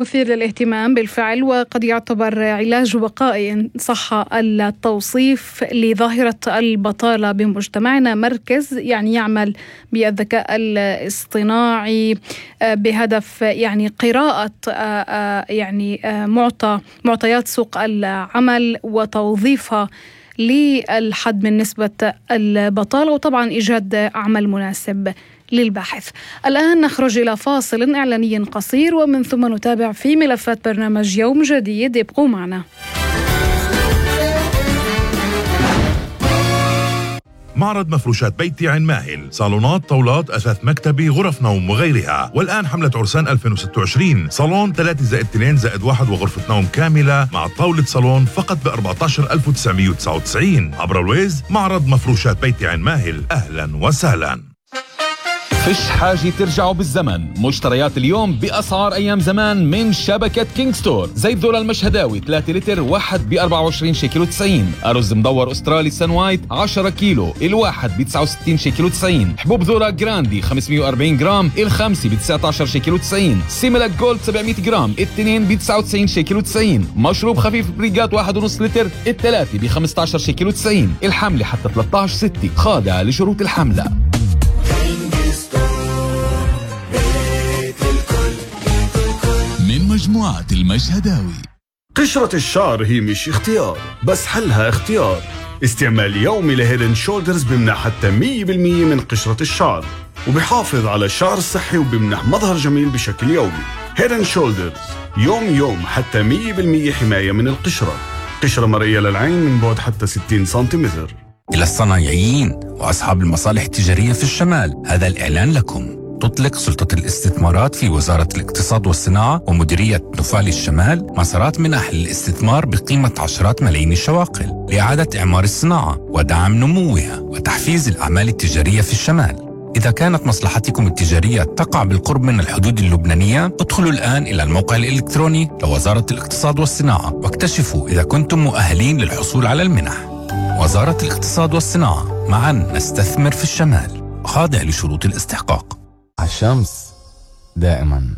مثير للاهتمام بالفعل، وقد يعتبر علاج وقائي إن صح التوصيف لظاهرة البطالة بمجتمعنا. مركز يعمل بالذكاء الاصطناعي بهدف قراءة معطيات سوق العمل وتوظيفها للحد من نسبة البطالة، وطبعا إيجاد عمل مناسب للباحث. الآن نخرج إلى فاصل إعلاني قصير، ومن ثم نتابع في ملفات برنامج يوم جديد. ابقوا معنا. معرض مفروشات بيتي عين ماهل، صالونات، طاولات، أثاث مكتبي، غرف نوم وغيرها. والآن حملة عرسان 2026، صالون 3+2+1 وغرفة نوم كاملة مع طاولة صالون فقط ب 14,999 عبر الويز. معرض مفروشات بيتي عين ماهل، أهلا وسهلا. فيش حاجة ترجعوا بالزمن، مشتريات اليوم بأسعار أيام زمان من شبكة كينج ستور. زيت ذرة المشهداوي 3 لتر واحد ب 24 شيكل و90. أرز مدور أسترالي سان وايت 10 كيلو الواحد ب 69 شيكل و90. حبوب ذرة جراندي 540 جرام الخمسة ب 19 شيكل و90. سيميلاك جولد 700 جرام التنين ب 99 شيكل و90. مشروب خفيف بريجات 1.5 لتر الثلاثة ب 15 شيكل و90. الحملة حتى 13/6، خاضعة لشروط الحملة. من مجموعة المشهداوي. قشرة الشعر هي مش اختيار، بس حلها اختيار. استعمال يومي لهيدن شولدرز بمنح حتى 100% من قشرة الشعر، وبيحافظ على الشعر الصحي وبمنح مظهر جميل بشكل يومي. هيدن شولدرز يوم حتى 100% حماية من القشرة. قشرة مرئية للعين من بعد حتى 60 سنتيمتر. إلى الصنايعيين وأصحاب المصالح التجارية في الشمال، هذا الإعلان لكم. تطلق سلطة الاستثمارات في وزارة الاقتصاد والصناعة ومديرية نفال الشمال مسارات منح للاستثمار بقيمة عشرات ملايين الشواقل لإعادة إعمار الصناعة ودعم نموها وتحفيز الأعمال التجارية في الشمال. إذا كانت مصلحتكم التجارية تقع بالقرب من الحدود اللبنانية، ادخلوا الآن إلى الموقع الإلكتروني لوزارة الاقتصاد والصناعة واكتشفوا إذا كنتم مؤهلين للحصول على المنح. وزارة الاقتصاد والصناعة، معا نستثمر في الشمال، خاضع لشروط الاستحقاق. الشمس دائما